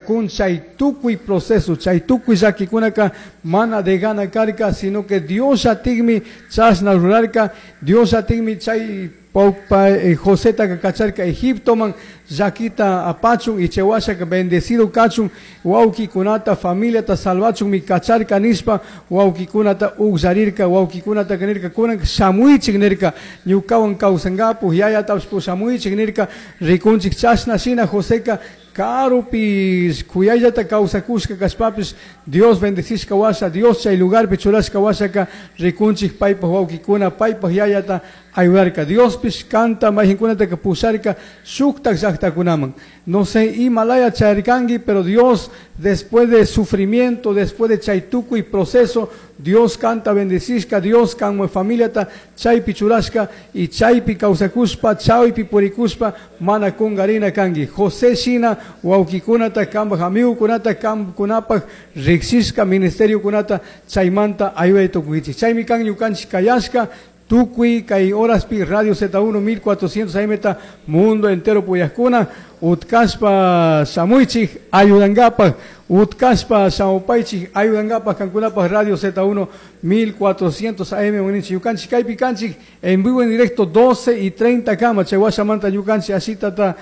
Cun chay tukuy proceso, chay tukuy llakikunaka mana de gana karka, sino que Dios llatikmi chashna rurarka, Dios llatikmi chay Joseta kacharka Egiptoman llakita apachun y chay washaka bendecido kachun, wawkikunata familiata salvachunmi kacharka nishpa wawkikunata ugllarirka, wawkikunata nirka kunan shamuychik nirka, ñukawan kawsankapu yayatapish pushamuychik nirka, rikunchik chashna shina Joseka karupi kuyayllata kawsakushka kashpapish Dios bendecishka washa, Dios chay lugarpi churashka washaka rikunchik paypaj wawkikuna paypaj yayata ayudarka. Diospish kanta mayjinkunataka pusharka shuktak llaktakunaman. No sé imalaya chayarkanki, pero Dios después de sufrimiento, después de chay tukuy proceso, Dios kanta bendecishka, Dios kanmu familiata chaypi churashka y chaypi kawsakushpa, chaypi purikushpa mana kungarina kanki. José shina wawkikunata, kambaj amigukunata, kamkunapaj riksishka ministeriokunata chaymanta ayuday tukunkichik. Chaymi kan ñukanchik kayashka tukuy kay horaspi Radio Z1 1400 AM ta mundo entero puyajkuna utkashpa shamuychik ayudankapaj, utkashpa shamupaychik ayudankapaj kankunapaj Radio Z1 1400 AM uninchik. Ñukanchik kaypi kanchik en vivo en directo 12:30 kama, chay washamanta ñukanchik ashitata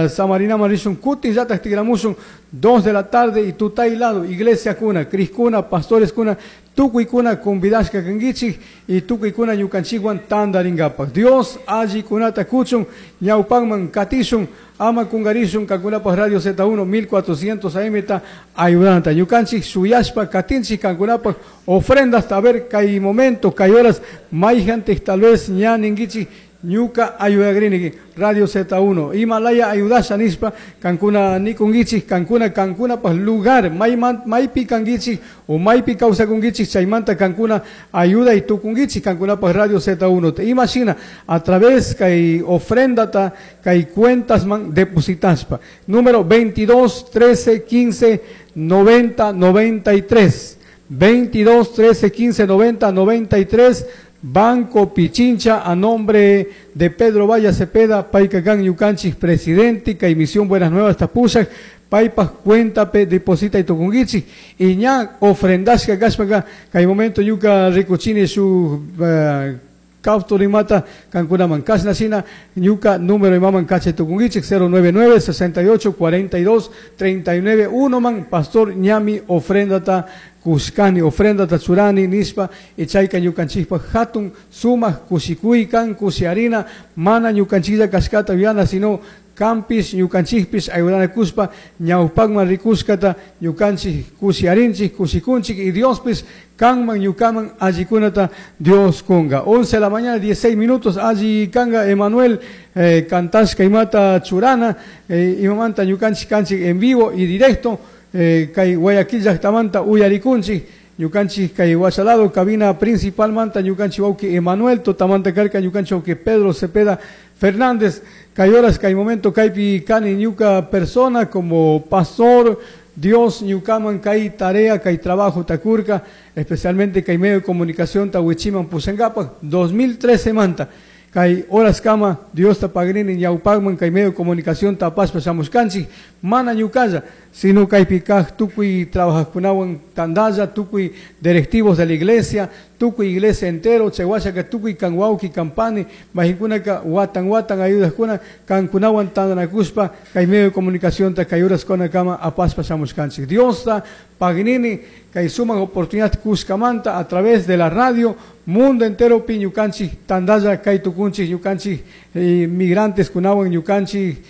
samarinaman rishun kutin llatak tigramushun 2 de la tarde y tutay lado iglesia kuna, criskuna, pastores kuna, tukuykuna convidashka kankichik y tukuykuna ñukanchikwan tantarinkapaj. Dios allikunata kuchun ñawpanman katishun ama kungarishun kankunapaj Radio Z1 1400 AM ta ayudanta. Ñukanchik shuyashpa katinchik kankunapaj ofrendas a ver kay momento, kay horas mayjantik tal vez ña ninkichik ñuka ayudagrini Radio Z1 Himalaya ayudasha nishpa kankuna nikunkichik kankuna kankunapaj lugar maypi kankichik o maypi kawsakunkichik chaymanta kankuna ayuday tukunkichik kankunapaj Radio Z1 ima shina a través kay ofrendata kay cuentasman depositashpa número 22 13 15 90 93 22 13 15 90 93 Banco Pichincha a nombre de Pedro Valla Cepeda, Paykakan ñukanchik presidente, kay Misión Buenas Nuevas tapushak, paypaj cuentape deposita y tukunkichik y ña ofrendashka kashpaka kay momento ñuka rikuchini shuk capturimata kankunaman kashna shina ñuka número imaman kachay tukunkichik 099 68 42 39 1 man pastor ñami ofrendata kushkani ofrendata churani nishpa y chayka ñukanchikpaj hatun sumak kushikuykan kushiarina mana ñukanchiklla kashkata yuyana sino kampis ñukanchikpis ayudanakushpa ñawpakman rikushkata ñukanchik kushiarinchik kushikunchik y Diospis kanman ñukaman allikunata Dios kunga. 11 de la mañana 16 minutos alli kanga Emanuel kantashka imata churana imamanta ñukanchik kanchik en vivo y directo kay Guayaquil llaktamanta uyarikunchik ñukanchik kay washalado cabina principal manta ñukanchik wawki Emanuel tutamanta karka ñukanchik wawki Pedro Cepeda Fernández kay horas kay momento kaypi kani ñuka persona como pastor Dios ñukaman kay tarea kay trabajo takurka especialmente kay medio de comunicación tawichiman pushankapaj 2013 manta kay horas kama Dios ta pagrini ñawpakman kay medio de comunicación tapashpa shamushkanchik mana ñukalla sino kaypi kaj tukuy trabajajkunawan tandalla tukuy directivos de la iglesia tukuy iglesia entero chay washaka tukuy kan wawki kan pani mayjinkunaka watan watan ayudajkuna kankunawan tandanakushpa kay medio de comunicación ta kay horas kama apashpa shamushkanchik Dios ta pagnini kay sumak oportunidad kushkamanta a través de la radio mundo entero pi ñukanchik tandalla kay tukunchik ñukanchik migrantes kunawan ñukanchik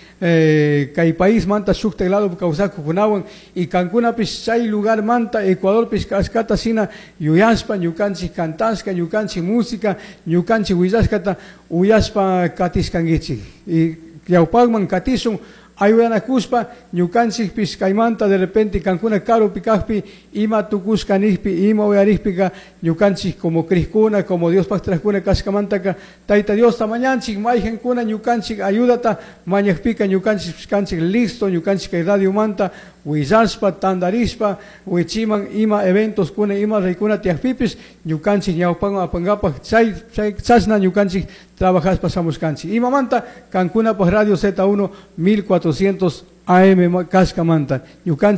kay país manta shuktak lado kawsakukunawan y kankunapish chay lugar manta Ecuadorpish kashkata shina yuyashpa ñukanchik kantashka ñukanchik música ñukanchik willashkata uyashpa katishkankichik y ñawpakman katishun ayudanakushpa ñukanchikpish kaymanta de repente kankuna karupi kajpi ima tukushka nijpi ima uyarikpika ñukanchik como criskuna como Diospaj trajkuna kashkamantaka Tayta Diosta mañanchik mayjankuna ñukanchik ayudata mañakpika ñukanchik kanchik listo ñukanchik kay radiomanta willashpa tandarishpa wichiman ima eventos kuna ima reykuna tiyakpipish ñukanchik ñawpanman apankapaj chay chay chashna ñukanchik trabajashpa shamushkanchik imamanta kankunapaj Radio Z1 1400 AM kashkamanta ñukanchik.